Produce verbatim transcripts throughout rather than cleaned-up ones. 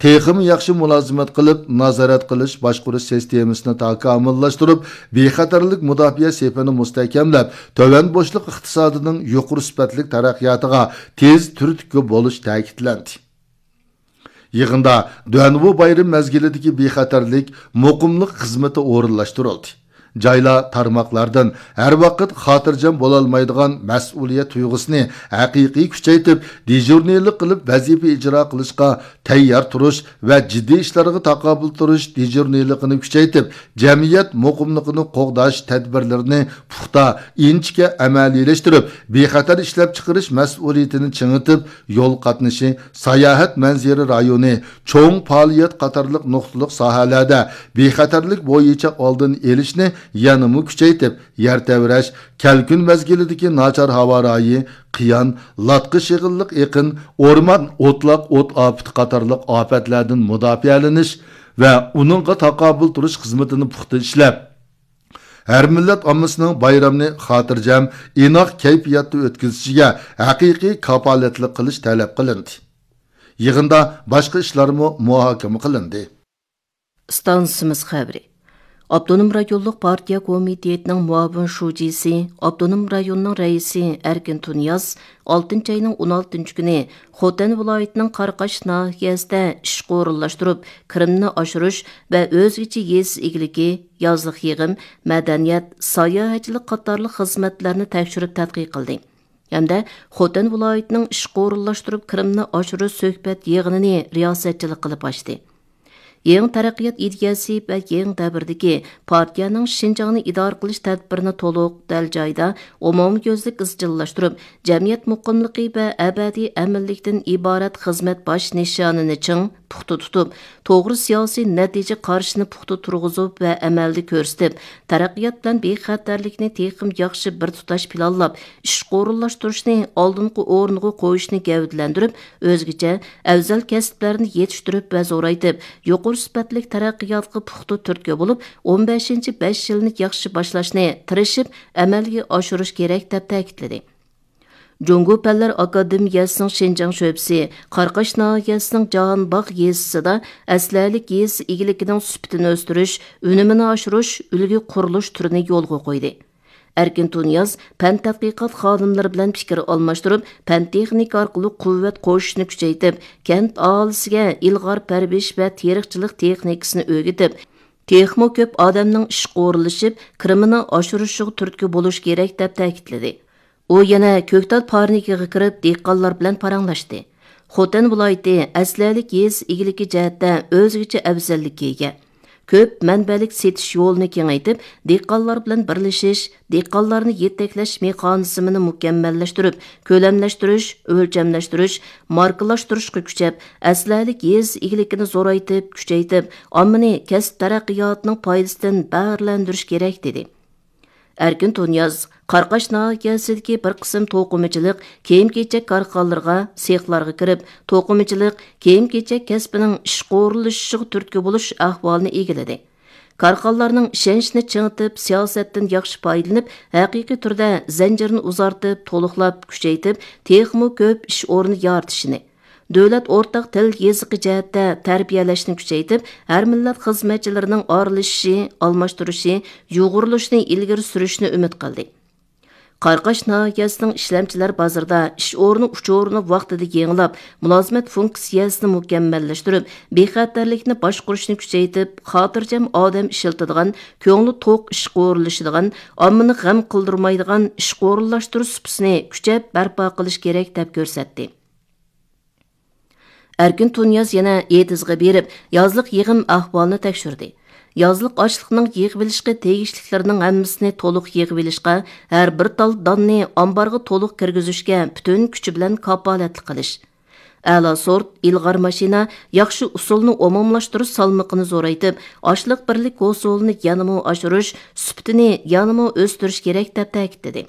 تېخىمۇ ياخشى مۇلازىمەت قىلىپ، نازارەت قىلىش، باشقۇرۇش سىستېمىسىنى تاكامۇللاشتۇرۇپ، بىخەتەرلىك مۇداپىئە سېپىنى مۇستەھكەملەپ، تۆۋەن بوشلۇق ئىقتىسادىنىڭ يۇقىرى سۈپەتلىك تەرەققىياتىغا تېز تۈرتكە بولۇش تەكىتلەندى. يىغىندا دۇەنۋۇ بايرىمى مەزگىلىدىكى بىخەتەرلىك، مۇقىملىق خىزمىتى ئورۇنلاشتۇرۇلدى. جايلار، تارماقلاردىن ھەر ۋاقىت خاتىرجەم بولالمايدىغان مەسئۇلىيەت تۇيغۇسىنى ھەقىقىي كۈچەيتىپ، دېژۇرنىلىق قىلىپ ۋەزىپە ئىجرا قىلىشقا تەييار تۇرۇش ۋە جىددىي ئىشلارغا تاقابىل تۇرۇش دېژۇرنىلىقىنى كۈچەيتىپ، جەمئىيەت مۇقىملىقىنى قوغداش تەدبىرلىرىنى پۇختا، ئىنچىكە ئەمەلىيلەشتۈرۈپ، بىخەتەر ئىشلەپچىقىرىش مەسئۇلىيىتىنى چىڭىتىپ، يول قاتنىشى، ساياھەت مەنزىرە رايونى، چوڭ پائالىيەت قاتارلىق نۇقتىلىق ساھەلەردە بىخەتەرلىك بويىچە ئالدىنى ئېلىشنى يەنىمۇ كۈچەيتىپ، يەر تەۋرەش، كەلكۈن مەزگىلىدىكى ناچار ھاۋا رايى، قىيان، لاتقا شېغىللىق ئېقىن، ئورمان، ئوتلاق ئوت ئاپىتى قاتارلىق ئاپەتلەردىن مۇداپىئەلىنىش ۋە ئۇنىڭغا تاقابىل تۇرۇش خىزمىتىنى پۇختا ئىشلەپ، ھەر مىللەت ئاممىسىنىڭ بايرامنى خاتىرجەم، ئىناق كەيپىياتتا ئۆتكۈزۈشىگە ھەقىقىي كاپالەتلىك قىلىش تەلەپ قىلىندى. يىغىندا باشقا ئىشلارمۇ مۇھاكىمە قىلىندى. ئىستانسىمىز خەۋىرى. ئاپتونوم رايونلۇق پارتىيە كومىتېتىنىڭ مۇئاۋىن شۇجىسى، ئاپتونوم رايوننىڭ رەئىسى ئەركىن تۇنىياز ئالتىنچى ئاينىڭ ئون ئالتىنچى كۈنى خوتەن ۋىلايىتىنىڭ قاراقاش ناھىيەسىدە ئىشقا ئورۇنلاشتۇرۇپ، كىرىمنى ئاشۇرۇش ۋە ئۆزگىچە يېزا ئىگىلىكى، يازلىق يىغىم، مەدەنىيەت، ساياھەتچىلىك قاتارلىق خىزمەتلەرنى تەكشۈرۈپ تەتقىق قىلدى. ھەمدە خوتەن ۋىلايىتىنىڭ ئىشقا ئورۇنلاشتۇرۇپ كىرىمنى ئاشۇرۇش سۆھبەت يىغىنىنى رىياسەتچىلىك قىلىپ ئاچتى. يېڭى تەرەققىيات ئىدىيەسى ۋە يېڭى دەۋردىكى پارتىيەنىڭ شىنجاڭنى ئىدارە قىلىش تەدبىرىنى تولۇق، دەل جايىدا، ئومۇميۈزلۈك ئىزچىللاشتۇرۇپ، جەمئىيەت مۇقىملىقى ۋە ئەبەدىي ئەمىنلىكتىن ئىبارەت خىزمەت باش نىشانىنى چىڭ، پۇختا تۇتۇپ، توغرا سىياسىي نەتىجە قارىشىنى پۇختا تۇرغۇزۇپ ۋە ئەمەلدە كۆرسىتىپ، تەرەققىيات بىلەن بىخەتەرلىكنى تېخىمۇ ياخشى بىر تۇتاش پىلانلاپ، ئىشقا ئورۇنلاشتۇرۇشنى ئالدىنقى ئورۇنغا قويۇشنى گەۋدىلەندۈرۈپ، ئۆزگىچە، ئەۋزەل كەسىپلەرنى يېتىشتۈرۈپ ۋە زورايتىپ، يۇقىرى سۈپەتلىك تەرەققىياتقا پۇختا تۈرتكە بولۇپ، ئون بەشىنچى بەش يىلنى ياخشى باشلاشنى تىرىشىپ ئەمەلگە ئاشۇرۇش كېرەك، دەپ تەكىتلىدى. جۇڭگو پەنلەر ئاكادېمىيەسىنىڭ شىنجاڭ شۆبىسى قاراقاش ناھىيەسىنىڭ جاھانباغ يېزىسىدا ئەسلىھەلىك يېزا ئىگىلىكىنىڭ سۈپىتىنى ئۆستۈرۈش، ئۈنۈمىنى ئاشۇرۇش ئۈلگە قۇرۇلۇش تۈرىنى يولغا قويدى. ئەركىن تۇنىياز پەن تەتقىقات خادىملىرى بىلەن پىكىر ئالماشتۇرۇپ، پەن تېخنىكا ئارقىلىق قۇۋۋەت قوشۇشنى كۈچەيتىپ، كەنت ئاھالىسىگە ئىلغار پەرۋىش ۋە تېرىقچىلىق تېخنىكىسىنى ئۆگىتىپ، تېخىمۇ كۆپ ئادەمنىڭ ئىشقا ئورۇنلىشىپ، كىرىمىنى ئاشۇرۇشىغا تۈرتكە بولۇش كېرەك، دەپ تەكىتلىدى. ئۇ يەنە كۆكتال پارنىكىغا كىرىپ، دېھقانلار بىلەن پاراڭلاشتى. خوتەن ۋىلايىتى ئەسلىھەلىك يېزا ئىگىلىكى جەھەتتە ئۆزگىچە ئەۋزەللىككە ئىگە. كۆپ مەنبەلىك سېتىش يولىنى كېڭەيتىپ، دېھقانلار بىلەن بىرلىشىش، دېھقانلارنى يېتەكلەش مېخانىزمىنى مۇكەممەللەشتۈرۈپ، كۆلەملەشتۈرۈش، ئۆلچەملەشتۈرۈش، ماركىلاشتۇرۇشقا كۈچەپ، ئەسلىھەلىك يېزا ئىگىلىكىنى زورايتىپ، كۈچەيتىپ، ئاممىنى كەسىپ تەرەققىياتىنىڭ پايدىسىدىن بەھرىلەندۈرۈش كېرەك، دېدى. ئەركىن تۇنىياز قاراقاش ناھىيەسىدىكى بىر قىسىم توقۇمىچىلىق، كىيىم-كېچەك كارخانىلىرىغا، سېخلارغا كىرىپ، توقۇمىچىلىق، كىيىم-كېچەك كەسپىنىڭ ئىشقا ئورۇنلىشىشىغا تۈرتكە بولۇش ئەھۋالىنى ئىگىلىدى. كارخانىلارنىڭ ئىشەنچىنى چىڭىتىپ، سىياسەتتىن ياخشى پايدىلىنىپ، ھەقىقىي تۈردە زەنجىرنى ئۇزارتىپ، تولۇقلاپ، كۈچەيتىپ، تېخىمۇ كۆپ ئىش ئورنى يارىتىشىنى، دۆلەت ئورتاق تىل يېزىقى جەھەتتە تەربىيەلەشنى كۈچەيتىپ، ھەر مىللەت خىزمەتچىلىرىنىڭ ئارىلىشىشى، ئالماشتۇرۇشى، يۇغۇرۇلۇشىنى ئىلگىرى سۈرۈشنى ئۈمىد قىلدى. قاراقاش ناھىيەسىنىڭ ئىشلەمچىلەر بازىرىدا ئىش ئورنى ئۇچۇرىنى ۋاقتىدا يېڭىلاپ، مۇلازىمەت فۇنكسىيەسىنى مۇكەممەللەشتۈرۈپ، بىخەتەرلىكنى باشقۇرۇشنى كۈچەيتىپ، خاتىرجەم ئادەم ئىشلىتىدىغان، كۆڭلى توق ئىشقا ئورۇنلىشىدىغان، ئاممىنى غەم قىلدۇرمايدىغان ئىشقا ئورۇنلاشتۇرۇش سۇپىسىنى كۈچەپ بەرپا قىلىش كېرەك، دەپ كۆرسەتتى. ئەركىن تۇنىياز يەنە ئېتىزغا بېرىپ، يازلىق يىغىم ئەھۋالىنى تەكشۈردى. يازلىق ئاشلىقنىڭ يىغىۋېلىشقا تېگىشلىكلىرىنىڭ ھەممىسىنى تولۇق يىغىۋېلىشقا، ھەر بىر تال داننى ئامبارغا تولۇق كىرگۈزۈشكە پۈتۈن كۈچى بىلەن كاپالەتلىك قىلىش. ئەلا سورت، ئىلغار ماشىنا، ياخشى ئۇسۇلنى ئومۇملاشتۇرۇش سالمىقىنى زورايتىپ، ئاشلىق بىرلىك ھوسۇلىنى يەنىمۇ ئاشۇرۇش، سۈپىتىنى يەنىمۇ ئۆستۈرۈش كېرەك، دەپ تەكىتلىدى.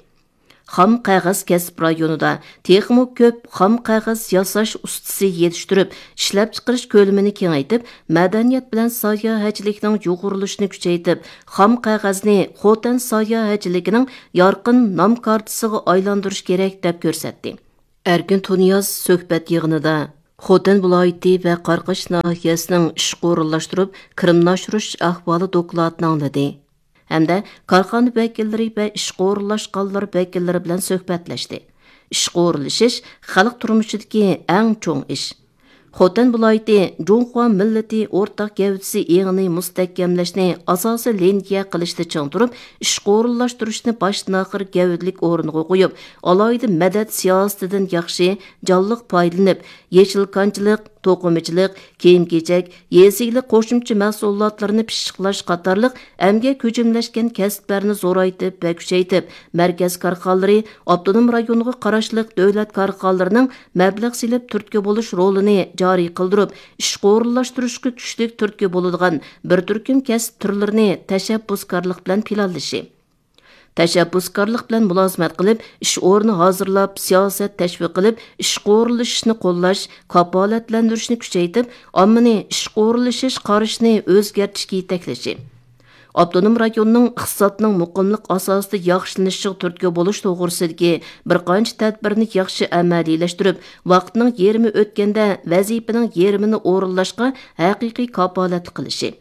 خام قەغەز كەسىپ رايونىدا تېخىمۇ كۆپ خام قەغەز ياساش ئۇستىسى يېتىشتۈرۈپ، ئىشلەپچىقىرىش كۆلىمىنى كېڭەيتىپ، مەدەنىيەت بىلەن ساياھەتچىلىكنىڭ يۇغۇرۇلۇشىنى كۈچەيتىپ، خام قەغەزنى خوتەن ساياھەتچىلىكىنىڭ يارقىن نام كارتىسىغا ئايلاندۇرۇش كېرەك، دەپ كۆرسەتتى. ئەركىن تۇنىياز سۆھبەت يىغىنىدا خوتەن ۋىلايىتى ۋە قاراقاش ناھىيەسىنىڭ ئىشقا ئورۇنلاشتۇرۇپ كىرىمنى ئاشۇرۇش ئەھۋالى دوكلاتىنى ئاڭلىدى ھەمدە كارخانا ۋەكىللىرى ۋە ئىشقا ئورۇنلاشقانلار ۋەكىللىرى بىلەن سۆھبەتلەشتى. ئىشقا ئورۇنلىشىش خەلق تۇرمۇشىدىكى ئەڭ چوڭ ئىش. خوتەن ۋىلايىتى جۇڭخۇا مىللىتى ئورتاق گەۋدىسى ئېڭىنى مۇستەھكەملەشنى ئاساسىي لىنىيە قىلىشتا چىڭ تۇرۇپ، ئىشقا ئورۇنلاشتۇرۇشنى باشتىن-ئاخىر گەۋدىلىك ئورۇنغا قويۇپ، ئالاھىدە مەدەت سىياسىتىدىن ياخشى، جانلىق پايدىلىنىپ، يېشىل كانچىلىق، توقۇمىچىلىق، كىيىم-كېچەك، يېزا ئىگىلىك قوشۇمچە مەھسۇلاتلىرىنى پىششىقلاش قاتارلىق ئەمگەك ھۆجۈملەشكەن كەسىپلەرنى زورايتىپ ۋە كۈچەيتىپ، مەركەز كارخانىلىرى، ئاپتونوم رايونغا قاراشلىق دۆلەت كارخانىلىرىنىڭ مەبلەغ سېلىپ تۈرتكە بولۇش رولىنى جارى قىلدۇرۇپ، ئىشقا ئورۇنلاشتۇرۇشقا كۈچلۈك تۈرتكە بولىدىغان بىر تۈركۈم كەسىپ تۈرلىرىنى تەشەببۇسكارلىق بىلەن پىلانلىشى. تەشەببۇسكارلىق بىلەن مۇلازىمەت قىلىپ، ئىش ئورنى ھازىرلاپ، سىياسەت تەشۋىق قىلىپ، ئىشقا ئورۇنلىشىشنى قوللاش، كاپالەتلەندۈرۈشنى كۈچەيتىپ، ئاممىنى ئىشقا ئورۇنلىشىش قارىشىنى ئۆزگەرتىشكە يېتەكلىشى. ئاپتونوم رايوننىڭ ئىقتىسادنىڭ مۇقىملىق ئاساسىدا ياخشىلىنىشىغا تۈرتكە بولۇش توغرىسىدىكى بىر قانچە تەدبىرنى ياخشى ئەمەلىيلەشتۈرۈپ، ۋاقىتنىڭ يېرىمى ئۆتكەندە ۋەزىپىنىڭ يېرىمىنى ئورۇنلاشقا ھەقىقىي كاپالەتلىك قىلىشى.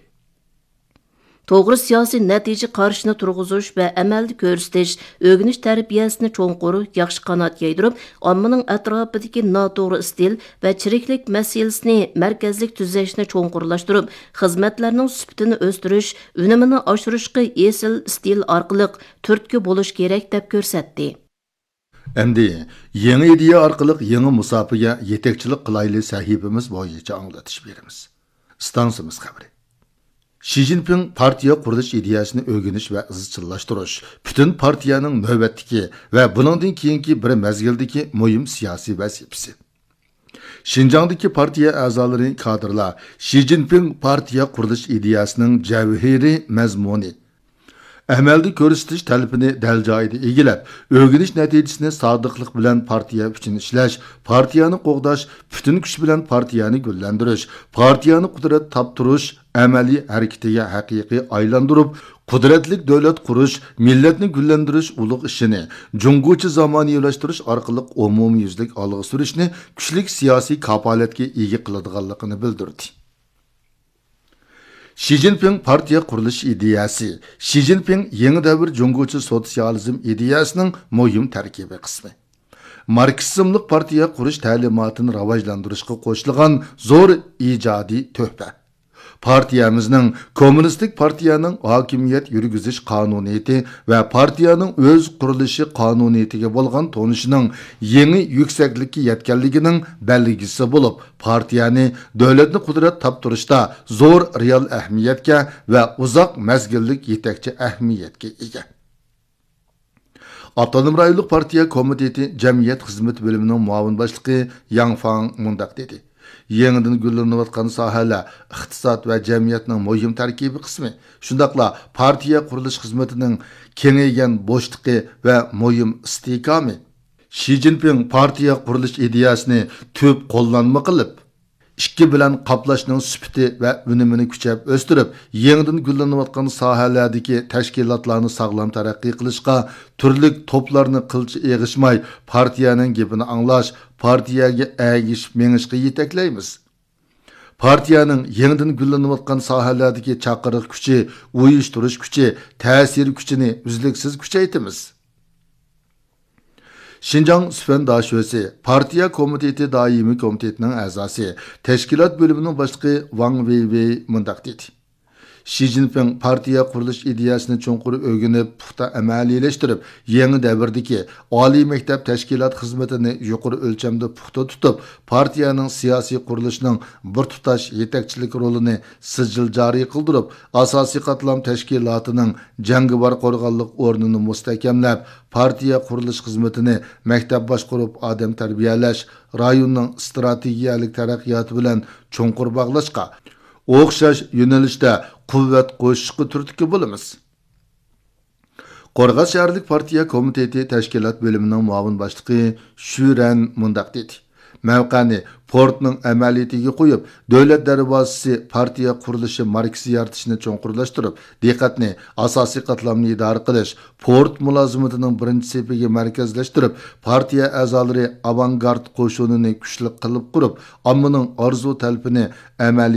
توغرا سىياسىي نەتىجە قارىشىنى تۇرغۇزۇش ۋە ئەمەلدە كۆرسىتىش، ئۆگىنىش تەربىيەسىنى چوڭقۇر، ياخشى قانات يايدۇرۇپ، ئاممىنىڭ ئەتراپىدىكى ناتوغرا ئىستىل ۋە چىرىكلىك مەسىلىسىنى مەركەزلىك تۈزەشنى چوڭقۇرلاشتۇرۇپ، خىزمەتلەرنىڭ سۈپىتىنى ئۆستۈرۈش، ئۈنۈمىنى ئاشۇرۇشقا ئېسىل ئىستىل ئارقىلىق تۈرتكە بولۇش كېرەك، دەپ كۆرسەتتى. ئەمدى يېڭى ئىدىيە ئارقىلىق يېڭى مۇساپىگە يېتەكچىلىك قىلايلى سەھىپىمىز بويىچە ئاڭلىتىش بېرىمىز. ئىستانسىمىز خەۋىرى. شى جىنپىڭ پارتىيە قۇرۇلۇش ئىدىيەسىنى ئۆگىنىش ۋە ئىزچىللاشتۇرۇش پۈتۈن پارتىيەنىڭ نۆۋەتتىكى ۋە بۇنىڭدىن كېيىنكى بىر مەزگىلدىكى مۇھىم سىياسىي ۋەزىپىسى. شىنجاڭدىكى پارتىيە ئەزالىرى، كادىرلار شى جىنپىڭ پارتىيە قۇرۇلۇش ئىدىيەسىنىڭ جەۋھىرىي مەزمۇنى، ئەمەلدە كۆرسىتىش تەلىپىنى دەل جايىدا ئىگىلەپ، ئۆگىنىش نەتىجىسىنى سادىقلىق بىلەن پارتىيە ئۈچۈن ئىشلەش، پارتىيەنى قوغداش، پۈتۈن كۈچ بىلەن پارتىيەنى گۈللەندۈرۈش، پارتىيەنى قۇدرەت تاپتۇرۇش ئەمەلىي ھەرىكىتىگە ھەقىقىي ئايلاندۇرۇپ، قۇدرەتلىك دۆلەت قۇرۇش، مىللەتنى گۈللەندۈرۈش ئۇلۇغ ئىشىنى جۇڭگوچە زامانىۋىلاشتۇرۇش ئارقىلىق ئومۇميۈزلۈك ئالغا سۈرۈشنى كۈچلۈك سىياسىي كاپالەتكە ئىگە قىلىدىغانلىقىنى بىلدۈردى. شى جىنپىڭ پارتىيە قۇرۇلۇش ئىدىيەسى، شى جىنپىڭ يېڭى دەۋر جۇڭگوچە سوتسىيالىزم ئىدىيەسىنىڭ مۇھىم تەركىبىي قىسمى. ماركسىزملىق پارتىيە قۇرۇش تەلىماتىنى راۋاجلاندۇرۇشقا قوشۇلغان زور ئىجادىي تۆھپە. پارتىيەمىزنىڭ كوممۇنىستىك پارتىيەنىڭ ھاكىمىيەت يۈرگۈزۈش قانۇنىيىتى ۋە پارتىيەنىڭ ئۆز قۇرۇلۇشى قانۇنىيىتىگە بولغان تونۇشىنىڭ يېڭى يۈكسەكلىككە يەتكەنلىكىنىڭ بەلگىسى بولۇپ، پارتىيەنى دۆلەتنى قۇدرەت تاپتۇرۇشتا زور رېئال ئەھمىيەتكە ۋە ئۇزاق مەزگىللىك يېتەكچى ئەھمىيەتكە ئىگە. ئاپتونوم رايونلۇق پارتىيە كومىتېتى جەمئىيەت خىزمىتى بۆلۈمىنىڭ مۇئاۋىن باشلىقى ياڭ فاڭ مۇنداق دېدى: يېڭىدىن گۈللىنىۋاتقان ساھەلەر ئىقتىساد ۋە جەمئىيەتنىڭ مۇھىم تەركىبىي قىسمى، شۇنداقلا پارتىيە قۇرۇلۇش خىزمىتىنىڭ كېڭەيگەن بوشلۇقى ۋە مۇھىم ئىستىھكامى. شى جىنپىڭ پارتىيە قۇرۇلۇش ئىدىيەسىنى تۈپ قوللانما قىلىپ، ئىككى بىلەن قاپلاشنىڭ سۈپىتى ۋە ئۈنۈمىنى كۈچەپ ئۆستۈرۈپ، يېڭىدىن گۈللىنىۋاتقان ساھەلەردىكى تەشكىلاتلارنى ساغلام تەرەققىي قىلىشقا، تۈرلۈك توپلارنى قىلچە ئېغىشماي، پارتىيەنىڭ گېپىنى ئاڭلاش، پارتىيەگە ئەگىشىپ مېڭىشقا يېتەكلەيمىز. پارتىيەنىڭ يېڭىدىن گۈللىنىۋاتقان ساھەلەردىكى چاقىرىق كۈچى، ئۇيۇشتۇرۇش كۈچى، تەسىر كۈچىنى ئۈزلۈكسىز كۈچەيتىمىز. شىنجاڭ سۈفەن داشۆسى پارتىيە كومىتېتى دائىمىي كومىتېتىنىڭ ئەزاسى، تەشكىلات بۆلۈمىنىڭ باشلىقى ۋاڭ ۋېيۋېي مۇنداق دېدى: شى جىنپىڭ پارتىيە قۇرۇلۇش ئىدىيەسىنى چوڭقۇر ئۆگىنىپ، پۇختا ئەمەلىيلەشتۈرۈپ، يېڭى دەۋردىكى ئالىي مەكتەپ تەشكىلات خىزمىتىنى يۇقىرى ئۆلچەمدە پۇختا تۇتۇپ، پارتىيەنىڭ سىياسىي قۇرۇلۇشىنىڭ بىر تۇتاش يېتەكچىلىك رولىنى سىجىل جارى قىلدۇرۇپ، ئاساسىي قاتلام تەشكىلاتىنىڭ جەڭگىۋار قورغانلىق ئورنىنى مۇستەھكەملەپ، پارتىيە قۇرۇلۇش خىزمىتىنى مەكتەپ باشقۇرۇپ ئادەم تەربىيەلەش، رايوننىڭ ئىستراتېگىيەلىك تەرەققىياتى بىلەن چوڭقۇر باغلاشقا، ئوخشاش يۆنىلىشتە قۇۋۋەت قوشۇشقا تۈرتكە بولىمىز. قورغاس شەھەرلىك پارتىيە كومىتېتى تەشكىلات بۆلۈمىنىڭ مۇئاۋىن باشلىقى شۈرەن مۇنداق دېدى: مەۋقەنى پورتنىڭ ئەمەلىيىتىگە قويۇپ، دۆلەت دەرۋازىسى پارتىيە قۇرۇلۇشى ماركىسى يارىتىشنى چوڭقۇرلاشتۇرۇپ، دىققەتنى ئاساسىي قاتلامنى ئىدارە قىلىش، پورت مۇلازىمىتىنىڭ بىرىنچى سېپىگە مەركەزلەشتۈرۈپ، پارتىيە ئەزالىرى ئاۋانگارت قوشۇنىنى كۈچلۈك قىلىپ قۇرۇپ، ئاممىنىڭ ئارزۇ تەلىپىنى ئەمەلىي